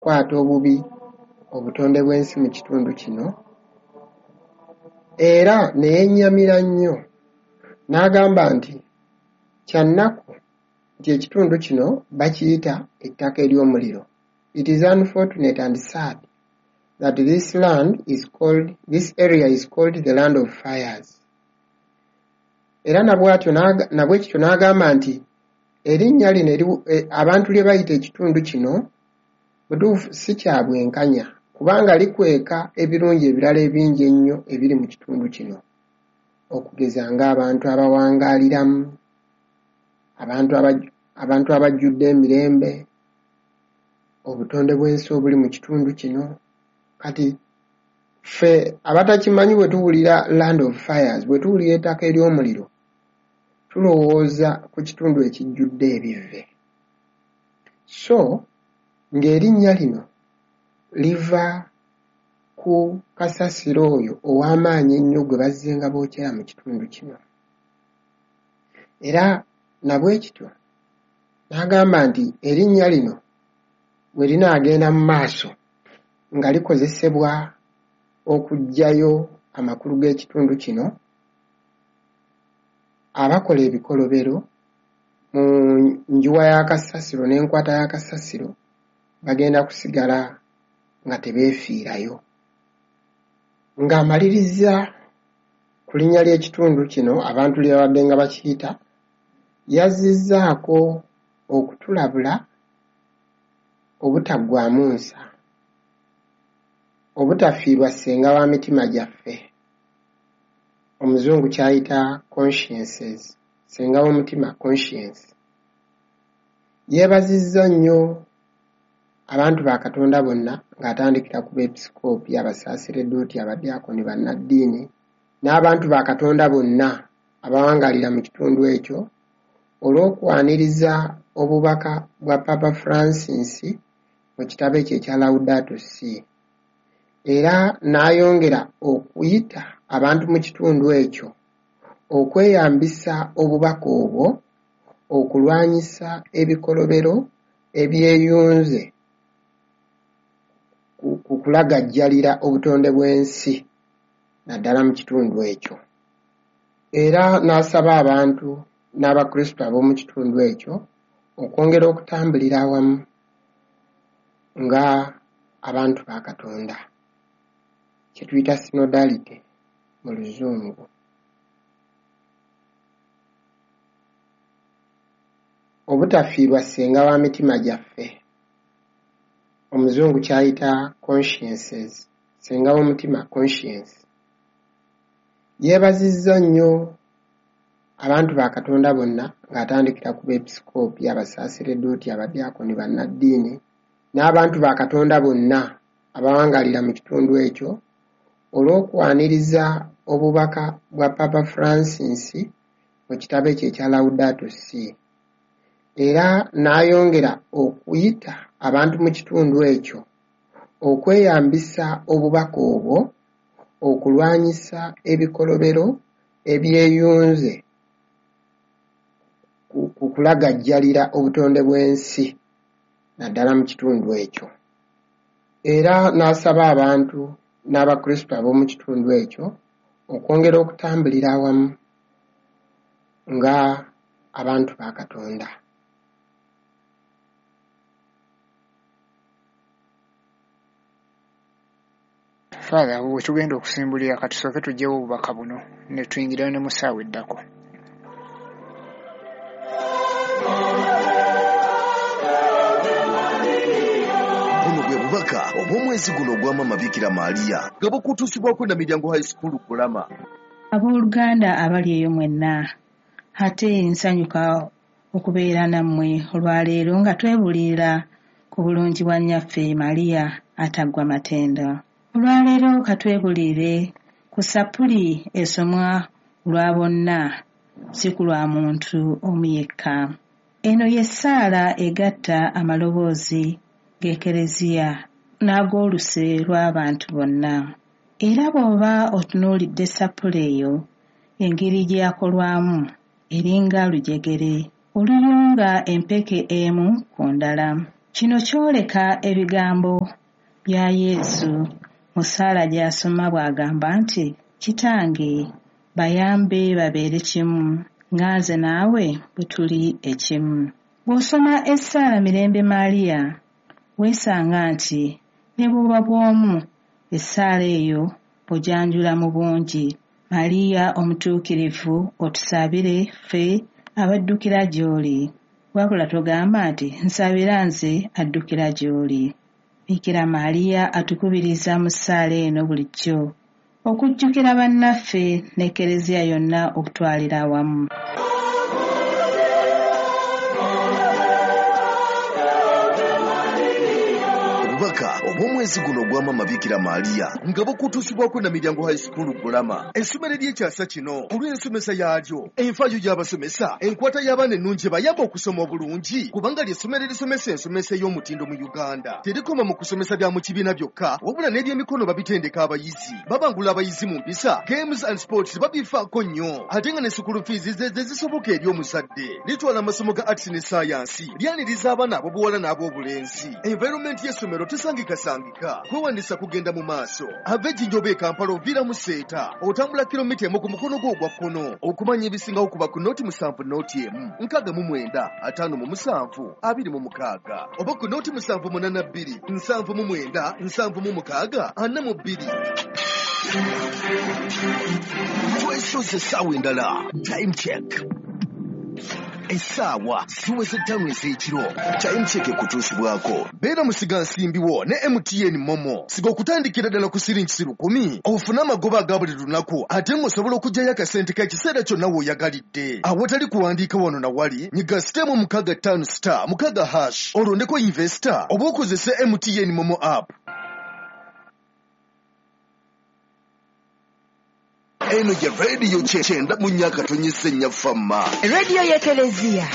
Okukwata obubi obutonde bw'ensi mu kitundu kino era ne yennyamira nnyo n'agamba nti kya nnaku nti ekitundu kino bakiyita ettaka ery'omuliro. It is unfortunate and sad that this land is called, this area is called the land of fires. Era na bw'atyo na bwe kityo n'agamba nti erinnya lino abantu lye bayita ekitundu kino butuufu si kya bwenkanya kubanga likweka ebirungi ebirala ebingi ennyo ebiri mu kitundu kino okugeza ng'abantu abawangaaliramu, abantu abajjudde emirembe, obutonde bw'ensi obuli mu kitundu kino. Kati ffe abatakimanyi bwe tuwulira land of fires, bwe tuwulira ettaka ery'omuliro, tulowooza ku kitundu ekijjudde ebivve. So ng'erinnya lino liva ku kasasiro oyo ow'amaanyi ennyo gwe bazzenga bookera mu kitundu kino. Era na bwe kityo n'agamba nti erinnya lino bwe linaagenda mu maaso nga likozesebwa okuggyayo amakulu g'ekitundu kino, abakola ebikolobero mu njuwa ya kasasiro n'enkwata ya kasasiro bagenda kusigala nga tebeefiirayo. Ng'amaliriza ku linnya ly'ekitundu kino abantu lye babadde nga bakiyita, yazzizzaako okutulabula obutaggwaamu nsa, obutafiirwa ssenga wa mitima gyaffe, omuzungu ky'ayita consciences, ssenga w'omutima conscience. Yeebazizza nnyo abantu ba Katonda bonna ng'atandikira ku beepisikoopi, abasaaseredooti, abadyaakoni, bannaddiini n'abantu ba Katonda bonna abawangaalira mu kitundu ekyo olw'okwaniriza obubaka bwa Papa Francis mu kitabo ekyo ekya Laudato Si. Era n'ayongera okuyita abantu mu kitundu ekyo okweyambisa obubaka obwo okulwanyisa ebikolobero ebyeyunze ku kulagajjalira obutonde bw'ensi naddala mu kitundu ekyo. Era n'asaba abantu n'Abakristu ab'omu kitundu ekyo okwongera okutambulira awamu nga abantu ba Katonda, kye tuyita synodality mu Luzungu. Obutafiirwa ssenga wa mitima gyaffe, omuzungu ky'ayita consciences, ssenga w'omutima conscience. Yeebazizza nnyo abantu ba Katonda bonna ng'atandikira ku beepisikoopi, abasaaseredooti, abadyaakoni, bannaddiini n'abantu ba Katonda bonna abawangaalira mu kitundu ekyo olw'okwaniriza obubaka bwa Papa Francis mu kitabo ekyo ekya Laudato Si. Era n'ayongera okuyita abantu mu kitundu ekyo okweyambisa obubaka obwo okulwanyisa ebikolobero ebyeyunze ku kulagajjalira obutonde bw'ensi naddala mu kitundu ekyo. Era n'asaba abantu n'Abakristu ab'omu kitundu ekyo okwongera okutambulira awamu nga abantu ba Katonda. Father, awo we tugenda okusimbulira katusooke tuggyewo obubaka buno ne tuyingirayo ne mu ssaawa eddako. Buno bwe bubaka obw'omwezi guno ogwa Maama Bikira Maria nga bukutuusibwako Namilyango High School Kulama. Abooluganda abali eyo mwenna, ate nsanyuka okubeera nammwe olwaleero nga twebuulirira ku bulungi bwa Nnyaffe Maria ataggwa matendo. Olwaleero ka twebuulirire ku ssappuli esomwa olwa bonna si ku lwa muntu omu yekka. Eno y'essaala egatta amaloboozi g'Ekereziya n'ag'oluse lw'abantu bonna. Era bw'oba otunuulidde ssappule eyo engeri gye yakolwamu eringa lujegere oluyunga empeke emu ku ndala. Kino kyoleka ebigambo bya Yesu mu ssaala gy'asoma bw'agamba nti, Kitange, bayambe babeere kimu, nga nze naawe bwe tuli ekimu. Bw'osoma essaala Mirembe Maria, weesanga nti ne bw'oba bw'omu, essaala eyo ogyanjula mu bungi. Maria omutuukirivu otusabire ffe abaddukira gy'oli. Wabula togamba nti nsabira nze addukira gy'oli. Bikira Maria atukubiriza mu ssaala eno bulijjo okujjukira bannaffe n'Ekereziya yonna okutwalira awamu. Obubaka obw'omwezi guno ogwa Maama Bikira Maria nga bukutuusibwako na Miryango High School Bulama, essomero ery'ekyasa kino olw'ensomesa yaalyo, enfaayo y'abasomesa, enkwata y'abaana ennungi ebayamba okusoma obulungi, kubanga ly'essomero erisomesa ensomesa ey'omutindo mu Uganda. Terikoma mu kusomesa bya mu kibiina byokka, wabula n'ebyemikono babitendeka abayizi, babangula abayizi mu mpisa, games and sports babifaako nnyo, ate nga ne school fees ze zisoboka eri omuzadde. Litwala amasomo ga arts ne science, lyaniriza abaana ab'obuwala n'ab'obulenzi. Environment y'essomero tesangikasangika, kwewandisa kugenda mu maaso. Ava Ejjinja oba e Kampala oviira mu Seeta, otambula kilomita 1 ku mukono gwo ogwa kkono. Okumanya ebisingawo kuba ku 07 01 69 57 26 oba ku 0782 79 76 42. Twesoze essaawa endala. Time check. Essaawa ziweze 5 ez'ekiro. Time check ekutuusibwako. Beera musigansimbiwo ne MTN Momo. Siga okutandikira ddala ku siringi 1,000 ofune amagoba aga buli lunaku, ate ng'osobola okuggyayo akasente k'ekiseera kyonna w'oyagalidde. Awatali kuwandiika wano na wali, nyiga *656 *6# olondeko investor oba okozese MTN Momo app. Eno ye radio 94.4 Fama. Radio y'Ekereziya.